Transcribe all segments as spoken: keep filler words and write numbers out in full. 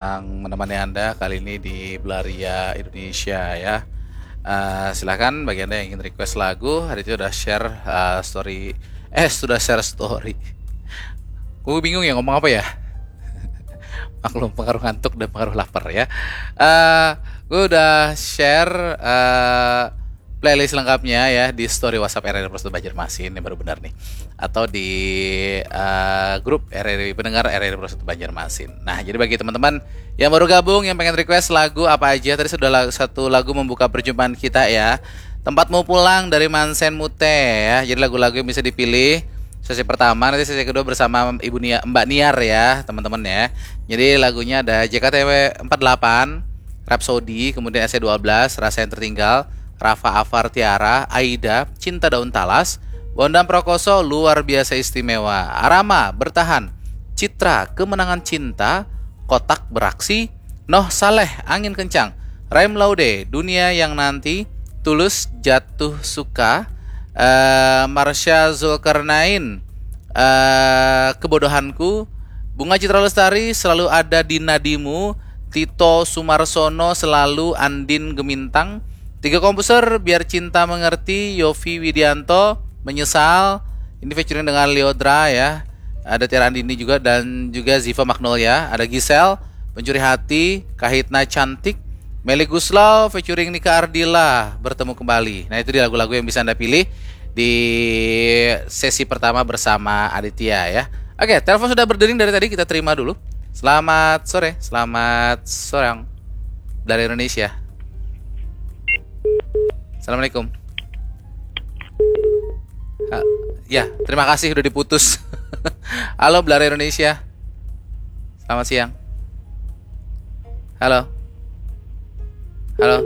yang menemani Anda kali ini di Belaria Indonesia ya. Eh, silakan bagi Anda yang ingin request lagu, hari itu udah share eh, story, eh sudah share story. Gue bingung ya ngomong apa ya. Maklum pengaruh ngantuk dan pengaruh lapar ya. Eh, gue udah share eh, playlist lengkapnya ya di story WhatsApp R R I Pro satu Banjarmasin, ini baru benar nih. Atau di eh, grup R R I, pendengar R R I Pro satu Banjarmasin. Nah, jadi bagi teman-teman yang baru gabung, yang pengen request lagu apa aja, tadi sudah la- satu lagu membuka perjumpaan kita ya. Tempatmu pulang dari Mansen Mute ya. Jadi lagu-lagu yang bisa dipilih sesi pertama, nanti sesi kedua bersama Ibu Nia, Mbak Niar ya, teman-teman ya. Jadi lagunya ada J K T W empat delapan, Rhapsody, kemudian S C dua belas, Rasa yang Tertinggal, Rafa Afar Tiara, Aida, Cinta Daun Talas, Bondan Prokoso, Luar Biasa Istimewa, Arama, Bertahan, Citra, Kemenangan Cinta, Kotak Beraksi, Noh Saleh, Angin Kencang, Raim Laude, Dunia yang Nanti, Tulus, Jatuh Suka, eh, Marsha Zulkarnain, eh, Kebodohanku, Bunga Citra Lestari, Selalu Ada di Nadimu, Tito Sumarsono, Selalu, Andin Gemintang, Tiga Komposer, Biar Cinta Mengerti, Yofi Widianto, Menyesal, ini featuring dengan Leodra ya, ada Tiara Andini juga dan juga Ziva Magnolia, ada Giselle, Pencuri Hati, Kahitna Cantik, Meli Guslau featuring Nika Ardila, Bertemu Kembali. Nah, itu dia lagu-lagu yang bisa Anda pilih di sesi pertama bersama Aditya ya. Oke, telepon sudah berdering dari tadi, kita terima dulu. Selamat sore, selamat sore dari Indonesia. Assalamualaikum. Ah, ya, terima kasih udah diputus. Halo, Belaria Indonesia. Selamat siang. Halo. Halo.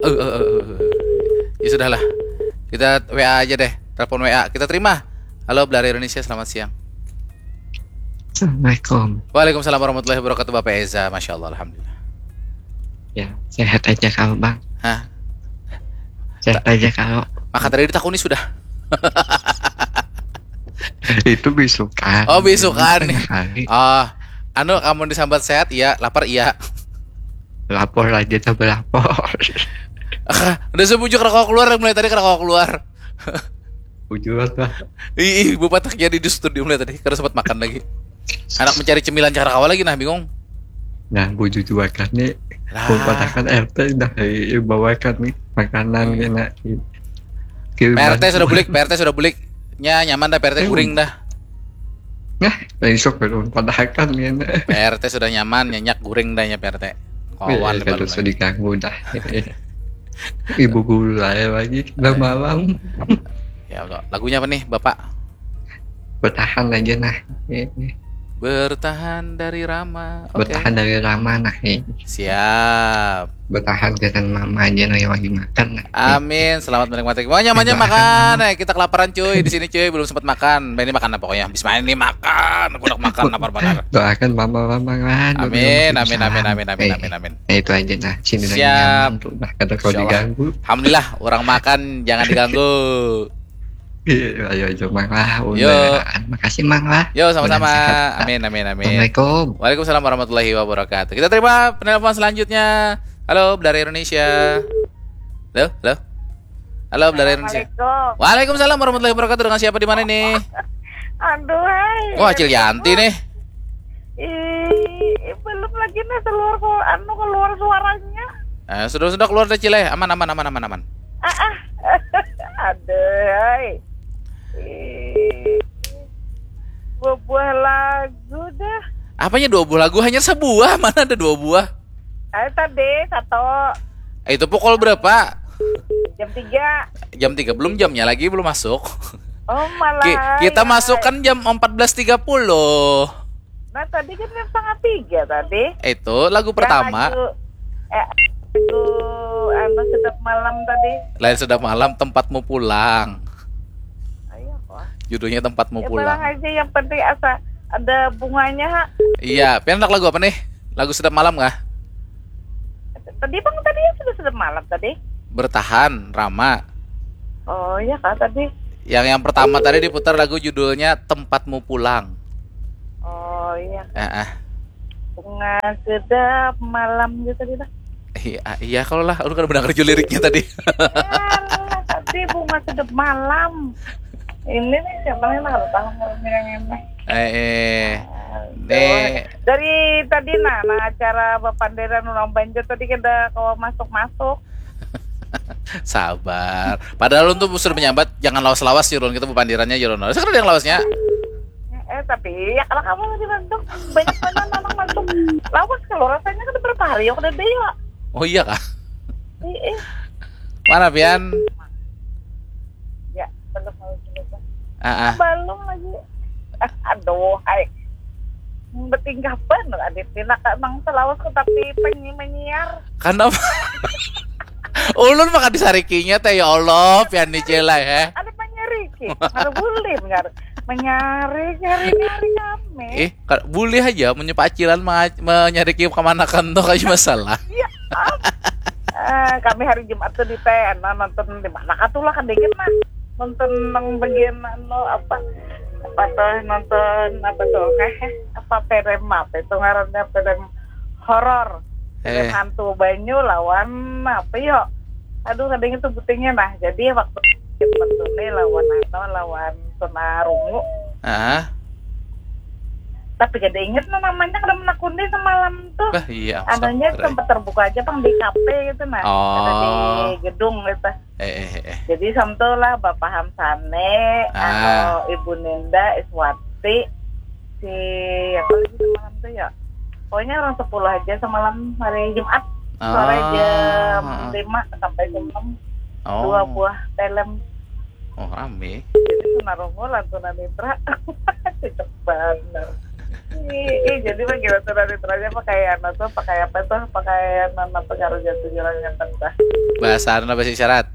Uh, uh, uh, uh. Ya sudahlah. Kita W A aja deh. Telepon W A. Kita terima. Halo, Belaria Indonesia. Selamat siang. Assalamualaikum. Waalaikumsalam warahmatullahi wabarakatuh, Bapak Eza. Masya Allah, alhamdulillah. Ya, sehat aja kalau Bang. Hah? Sehat aja kalau. Maka tadi ditakuni sudah. Itu bisukan. Oh, bisukan. Tengah hari. Oh, anu, kamu disambat sehat, iya. Lapar, iya. Lapor aja, coba lapor. Ah, udah sebujuk rokok keluar, mulai tadi rokok keluar. Bujur lah. Ih, ih, Bu Patak jadi di studio mulai tadi, karena sempat makan lagi. Anak mencari cemilan cara kawa lagi, nah, bingung. Nah, bujur juga kan nih. Lah. Pun patakan R T dah, eh, bawakan nih makanan Hmm. Kena. P R T sudah bulik, P R T sudah bulik. Nya nyaman dah, P R T Eh, guring dah. Nah, besok belum patakan Kena. P R T sudah nyaman, nyenyak guring dah nya P R T. Kawan Eh, lebar kalau lagi. Sudah diganggu dah. Ibu guru saya lagi udah malam. Ya Allah, lagunya apa nih, Bapak? Bertahan aja nah. Eh, eh. Bertahan dari Rama. Oke. Bertahan dari Rama nah. Eh. Siap. Bertahan dengan mama aja nah yang lagi makan nah. Amin, selamat menikmati. Mau nyamannya makan. Eh, kita kelaparan cuy di sini cuy, belum sempat makan. Nah, ini makan apa pokoknya? Habis main ini makan, aku udah makan lapar benar. Doakan mama-mama kan. Amin, amin, amin, amin, amin, amin, amin. Nah, itu aja nah. Sini lagi Siap. Nyaman tuh. Nah, kata kalau Insya Allah. Diganggu. Alhamdulillah, orang makan jangan diganggu. Iya, ayo aja Mang lah. Yo. Udah, makasih Mang lah. Yo, sama-sama. Mudah-mudahan sehat. Amin, amin, amin. Assalamualaikum. Waalaikumsalam warahmatullahi wabarakatuh. Kita terima penelpon selanjutnya. Halo, Belaria Indonesia. Halo, halo. Halo, Belaria Indonesia. Assalamualaikum. Waalaikumsalam warahmatullahi wabarakatuh. Dengan siapa di mana nih? Aduh, hai. Wah, Cil Yanti nih. Ih, belum lagi nih keluar, keluar anu, keluar suaranya. Eh, sudah sudah keluar dah, Cil, eh. Aman, aman, aman, aman, aman. Ah, ah. Aduh, hai. Ih, buah-buah lagu dah. Apanya dua buah lagu? Hanya sebuah. Mana ada dua buah? Ayo tadi satu. Eh, itu pukul berapa? Jam tiga. Jam tiga, belum jamnya lagi, belum masuk. Oh, malah. Ki- kita Ya. masuk kan jam empat belas tiga puluh. Nah, tadi kan jam setengah tiga tadi. Itu lagu pertama. Yang lagu, eh, lagu anu, Sedap Malam tadi. Lain Sedap Malam, Tempatmu Pulang. Ayo, wah. Judulnya Tempatmu Ya, Pulang. Barang aja, yang penting asa ada bunganya, ha. Iya, pian handak lagu apa nih? Lagu Sedap Malam kah? Tadi Bang tadi ya sudah Sedap Malam tadi. Bertahan, Rama. Oh, iya kah tadi? Yang yang pertama tadi diputar lagu judulnya Tempatmu Pulang. Oh, iya. Eh, eh. Bunga sedap malam gitu tadi lah. Iya, iya kalau lah, lu kan mendengar judul liriknya tadi. Alah, tadi bunga sedap malam. Ini nih siapa nih lah, tahu ngerti yang ini. Eh, eh. Dari tadi nah, nah acara bapanderan orang Banjar tadi kada kawa masuk-masuk. Sabar. Padahal untuk sudah menyambat jangan lawas-lawas, Jurun, kita bapandirannya, Jurun. Sekarang yang lawasnya. Eh tapi ya kalau kamu lagi masuk banyak banget anak masuk. Lawas kalau rasanya kan berapa hari ya udah deh ya. Oh iya kah? Ih, Mana pian? Ya belum mau juga. Ah, ah. Belum lagi. Aduh, hai. Betingkah bener Adit. Dina emang selawas ku tapi penyi menyiar. Kenapa? Ulun maka disarikinya teh, ya Allah, pian ni jelai, eh. Ada menyariki. Ada boleh benar. Menyari, nyari, nyari kami. Eh, ka- boleh aja menyapa acilan menga- menyariki kemanakan tuh kayak masalah. Iya. Ah. Eh, kami hari Jumat tuh di teh, nah, nonton di mana kah tuh lah kan dikit mah. Nonton nang bagian anu apa apa tuh nonton apa tuh eh apa film apa itu ngarannya film horor film Eh. Hantu banyu lawan apa yo aduh kadang itu butingnya nah jadi waktu itu nih lawan anu lawan tunarungu Ah, tapi kada inget no namanya kada menakuni semalam tuh bah iya. anunya Astagfirullah. Sempat terbuka aja pang di kafe gitu nah Oh. ada di gedung gitu Eh, eh, eh, eh. Jadi samto lah Bapak Hamsane, Ah. anu Ibu Ninda, Iswati, si apa lagi semalam tuh ya? Pokoknya orang sepuluh aja semalam hari Jumat sore Ah. Jam lima sampai jam enam Oh. Dua buah film. Oh, rame. Jadi tunarungu lantunan mitra. Cocok banget. Ih, ih, jadi bagi lantunan mitranya pakai anu tuh, pakai apa tuh? Pakai anu apa ngarannya tuh jalan yang tentah. Bahasa anu bahasa isyarat.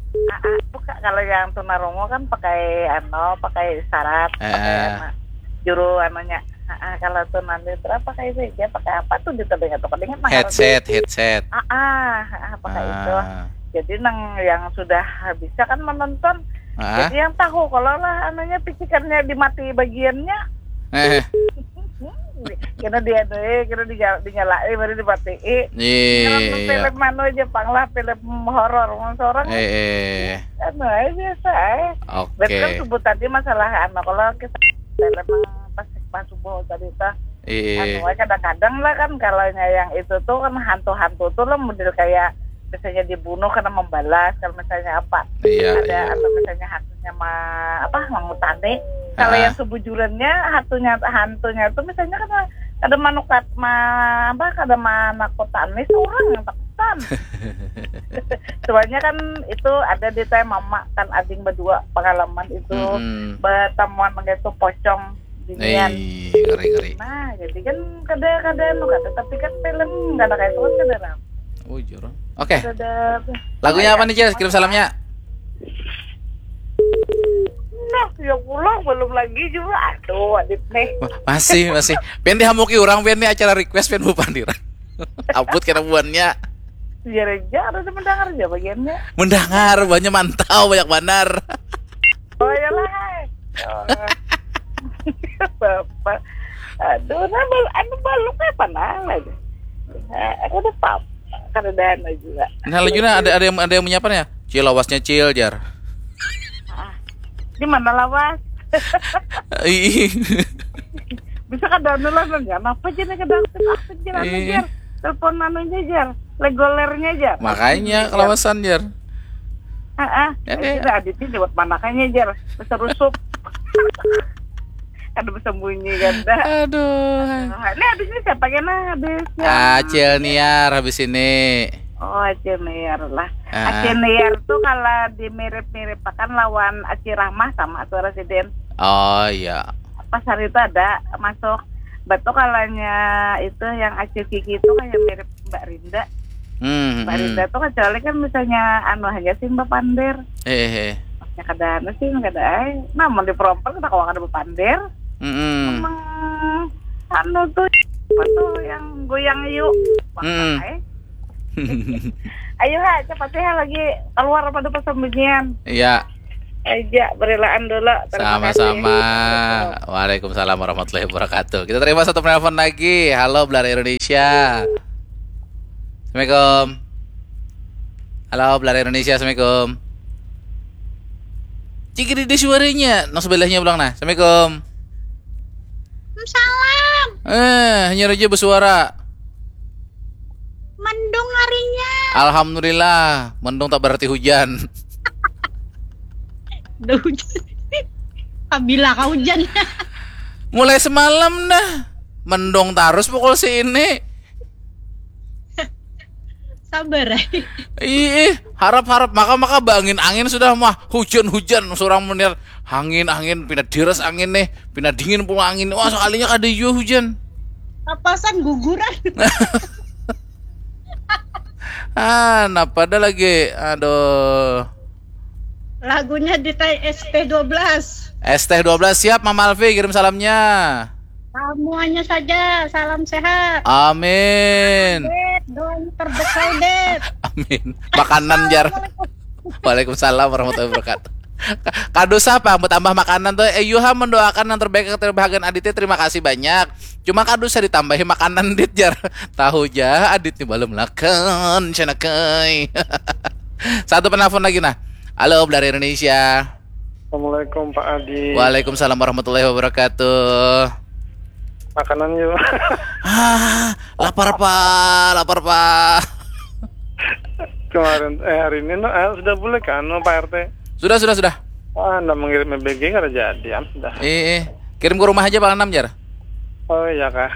Ah, ah, bukan kalau yang tunarungu kan pakai anu, pakai isyarat, Eh, pakai eh. anu, juru anunya. Ah, ah, kalau tunan mitra pakai saja, pakai apa tuh di telinga tuh, kadang mah Headset, headset. Ah, ah, ah, pakai itu. Ah. Jadi nang yang sudah bisa kan menonton. Ah. Jadi yang tahu kalau lah anunya picikannya dimati bagiannya. Eh, Kena dia eh, kena dinyal- dinyalai baru dimatii. iya. Film anu aja pang lah film horor mau seorang Eh, eh. anu aja biasa eh. Oke. Berarti kan sebut tadi masalah anu kalau kita film yang pas pas subuh tadi tuh Iya. anu aja kadang-kadang lah kan kalau yang itu tuh kan hantu-hantu tuh lah model kayak misalnya dibunuh karena membalas kalau misalnya apa Iya, ada iya. Atau misalnya hantunya ma apa mangutani kalau Ah. Yang sebujurannya hantunya hantunya tuh misalnya kan ada manukat ma apa kada manakutani seorang yang takutan soalnya kan itu ada di teh mama kan ading berdua pengalaman itu Mm-mm. Bertemuan dengan itu pocong binian Eh, ngeri ngeri. Nah, jadi kan kada kada anu kada tapi kan film kada kayak itu kan kada ram. Oh, jurang. Oke. Kada Lagunya apa nih, Jess? Kirim salamnya. Nah, ya pulang belum lagi juga. Aduh, Adit nih. Wah, masih, masih. Pian dihamuki orang, pian nih acara request, pian bupandiran. Abut kena buannya. Biar aja ada mendengar aja bagiannya. Mendengar, buannya mantau, banyak banar. Oh iyalah. Hai. Oh. Bapak. Aduh, nah, bal anu balung apa nang lagi? Nah, aku udah pap. Kada ada anu juga. Nah, lagi nah ada ada yang ada yang menyapa nih. Cil lawasnya cil jar. Di mana lawas? Ih. Bisa kada anu lah nanya. Apa aja nih kada aktif aktif jalan Ih. jar. Telepon anunya jar. Legolernya jar. Makanya Jar. kelawasan jar. Heeh. Ya, Ya, ya. Kita Adit ini buat manakannya jar. Besar rusup. Kada bersembunyi kan dah. Aduh. Nah, ini habisnya siapa kena habis ya? Acil Niar habis ini. Oh, Acil Niar lah. Ah. Acil Niar tuh kalau dimirip-miripakan lawan Acil Rahmah sama suara sidin. Oh iya. Pas hari itu ada masuk. Betul kalanya itu yang Acil Kiki itu kayak mirip Mbak Rinda. Hmm. Mbak hmm. Rinda tuh kecuali kan misalnya anu aja sih Mbak Pander. Eh, eh, eh. Ya kada anu sih kada ai. Namun di perompak kita kalau kada Mbak Pander. Mm-mm. Emang anu tuh apa tuh yang goyang yuk. Wah, Mm-mm. ai. Ayo ha, cepat ya lagi keluar pada persembunyian. Iya. Aja, berelaan dulu. Terima kasih. Sama-sama. Waalaikumsalam warahmatullahi wabarakatuh. Kita terima satu penelpon lagi. Halo, Belar Indonesia. Assalamualaikum. Halo, Belar Indonesia. Assalamualaikum. Cik, ini suaranya. Nang sebelahnya pulang nah. Assalamualaikum. Salam. Eh, hanyar aja bersuara. Mendung harinya. Alhamdulillah, mendung tak berarti hujan. Udah hujan. Kabila kah hujan? Mulai semalam dah. Mendung terus pukul sini. Sabar, eh. Ih, harap-harap maka maka bangin angin sudah mah hujan-hujan surang menir angin angin pina deres angin nih pina dingin pula angin wah sekalinya kada jua hujan Kapasan guguran. ah napa ada lagi aduh Lagunya di tai S T dua belas. S T dua belas siap Mama Alfi kirim salamnya Semuanya saja, salam sehat. Amin Dit, doang terbesar, Dit. Amin makanan jar Waalaikumsalam warahmatullahi wabarakatuh Kado siapa yang bertambah makanan tuh Eh Yuha mendoakan yang terbaik kepada bahagian Aditya Terima kasih banyak Cuma kado saya ditambahi makanan dit jar Tahu ja Adit ni belum lakan Canakai Satu penelpon lagi nah Halo dari Indonesia Assalamualaikum Pak Adi. Waalaikumsalam warahmatullahi wabarakatuh Makanan yuk. Ah, lapar pak, lapar pak Kemarin eh hari ini no, eh, sudah boleh kan no, Pak R T? Sudah, sudah, sudah Ah, anda mengirim M B G kada jadi kan sudah. Eh, eh. Kirim ke rumah aja Pak Anam jar Oh iya kah.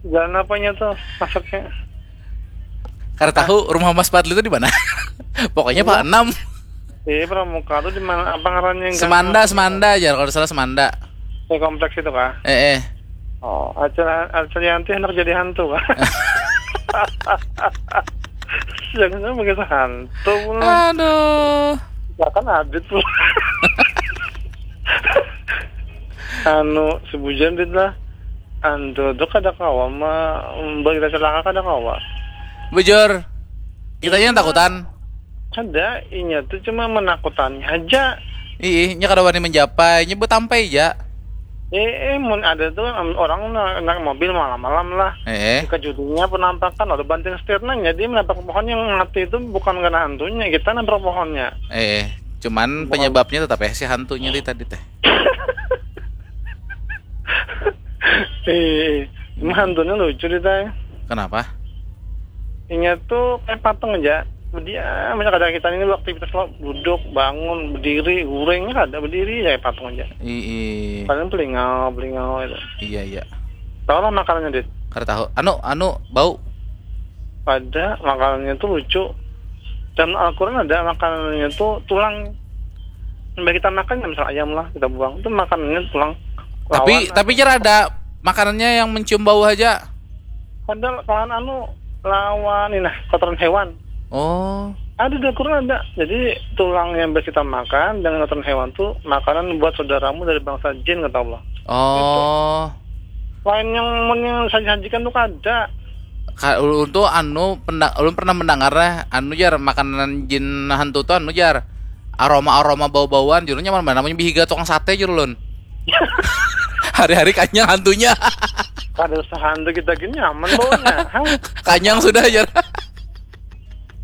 Jalan apanya tuh masuknya? Kada tahu rumah Mas Fadli itu di mana Pokoknya Pak Anam Di Pramuka tuh di mana apa ngarannya? Semanda, Semanda jar Kalau salah Semanda Di kompleks itu kah? Eh, eh Oh, Acil Acil Yanti hendak jadi hantu kah? Jangan sampai hantu pulang. Aduh Bahkan Adit pulang. Anu sebujan Dit lah. Antu tuh kada kawa ma bagi kita celaka kada kawa. Bujur Kita aja yang takutan Kada, inya tuh cuma menakutani aja. Ih, nya kada wani menjapai Nya betampai ja Eh, eh, mun ada tuh em, orang na- naik mobil malam-malam lah. Eh, eh Dikejutinya penampakan ada banting setirnya, jadi menabrak pohon yang mati itu bukan karena hantunya, kita nabrak pohonnya. Eh, eh Cuman penyebabnya tetap ya si hantunya di tadi teh Eh, cuma hantunya lucu deh tay. Kenapa? Inya tuh kayak patung aja. Berdiam aja kadang kita ini aktivitas lo duduk, bangun, berdiri, guring ada berdiri aja kayak patung aja. Ih, Paling pelingau, pelingau itu. iya iya. Tahu lah makanannya Dit. Kada tahu. Anu, anu bau. Ada makanannya tuh lucu. Dan Al-Quran ada makanannya tuh tulang. Sampai kita makan ya misal ayam lah kita buang itu makanannya tulang. Tapi Lawan tapi jar ada makanannya yang mencium bau aja. Ada lawan anu lawan ini nah kotoran hewan. Oh, Ada di Al-Quran ada. Jadi tulang yang biasa kita makan dengan kotoran hewan tuh makanan buat saudaramu dari bangsa jin kata Allah. oh. Lain yang mun yang sajikan tuh kada. Ka, ulun tuh anu penda, ulun pernah mendengar lah, anu jar makanan jin hantu tuh anu jar aroma aroma bau bauan jurnya mana namanya bihiga tukang sate jur ulun. Hari-hari kanyang hantunya. Kada usah hantu kita gini nyaman baunya. Hah? Kanyang sudah jar.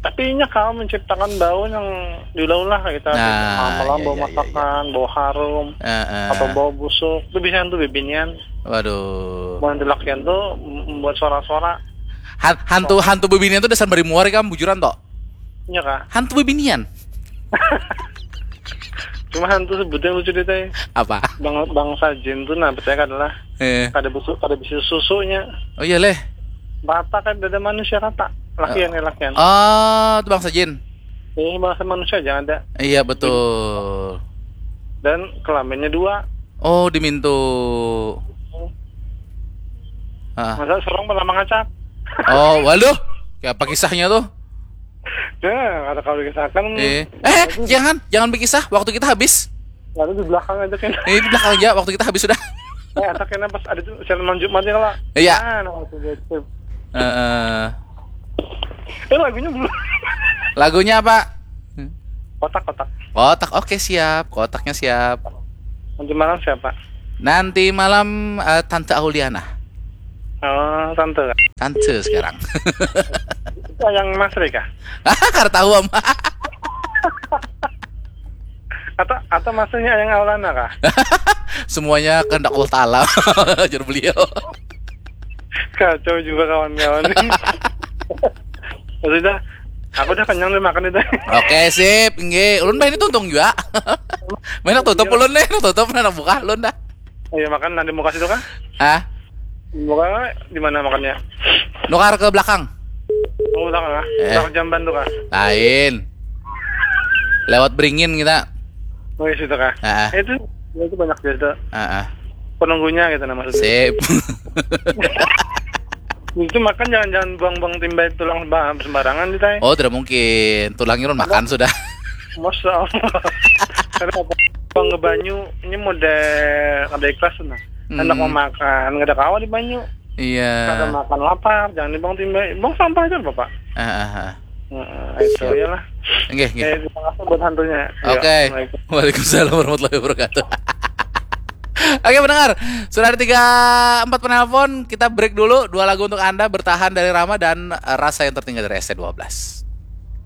Tapi inya kawa menciptakan bau yang diulah-ulah kita Nah, malam-malam iya, bau iya, iya, masakan, bau harum, Heeh. atau bau busuk, itu bisa hantu bibinian. Waduh. Bau hantu lakian tuh membuat suara-suara. Han- hantu hantu bebinian tuh dasar bari muar kam bujuran toh. Iya kah? Hantu bebinian. Cuma hantu sebutnya lucu deh teh. Apa? Bang bangsa jin tuh nah percaya adalah Eh. Kada besuk, kada bisa susunya. Oh iya leh. Rata kan dada manusia rata. Lakian ya lakian. Oh, itu bangsa jin. Ini bangsa manusia jangan ada. Iya betul. Dan kelaminnya dua. Oh, dimintu. Ah. Masa sorong pernah mengacak? Oh, waduh. Kayak apa kisahnya tuh? Ya, ada kalau dikisahkan. Eh, eh, jangan, jangan berkisah. Waktu kita habis. Lalu di belakang aja kan. Ini di belakang aja. Waktu kita habis sudah. Eh, ada kena pas ada tuh siaran malam Jumat ya lah. Iya. Ah, nah, waktu itu. Heeh. Eh lagunya belum. Lagunya apa? Kotak, kotak. Kotak, oke, siap. Kotaknya siap. Nanti malam siapa? Nanti malam eh, Tante Auliana. Oh, tante kah? Tante sekarang. Itu yang Mas Rey kah? Kada tahu ama. Atau atau maksudnya yang Aulana kah? Semuanya kehendak Allah Taala. Ujar beliau. Kacau juga kawan-kawan. Ya sudah, aku udah kenyang nih makan itu. Oke, sip, inggih. Ulun bah ini tuntung juga. Main tutup ulun nih, tutup nah buka ulun dah. Ayo makan, nanti mau kasih tuh kah? Hah? Buka di mana makannya? Nukar ke belakang. Oh, belakang kah? Eh. Belakang jamban tuh kah? Lain. Lewat beringin kita. Oh, iya situ kah? Ah, ah. Eh, itu itu banyak biasa. Ah, ah. Penunggunya gitu nah maksudnya. Sip. Itu makan jangan-jangan buang-buang timbai tulang ba- sembarangan di tai. Oh, tidak mungkin. Tulangnya ulun makan sudah. Masya Allah. Karena apa? Buang ke banyu, ini model kada ikhlas nah. Anak Hmm. mau makan, kada kawa di banyu. Kada Iya. Makan lapar, jangan dibuang timbai. Buang sampah aja, Bapak. Ah, ah, ah. Heeh, itu Siap. Iyalah. Enggak, enggak. Eh, terima kasih buat hantunya. Ya, Oke. Assalamualaikum. Waalaikumsalam warahmatullahi wabarakatuh. Oke, pendengar, sudah ada tiga empat penelpon. Kita break dulu, dua lagu untuk Anda, Bertahan dari Rama dan eh, Rasa yang Tertinggal dari S T dua belas.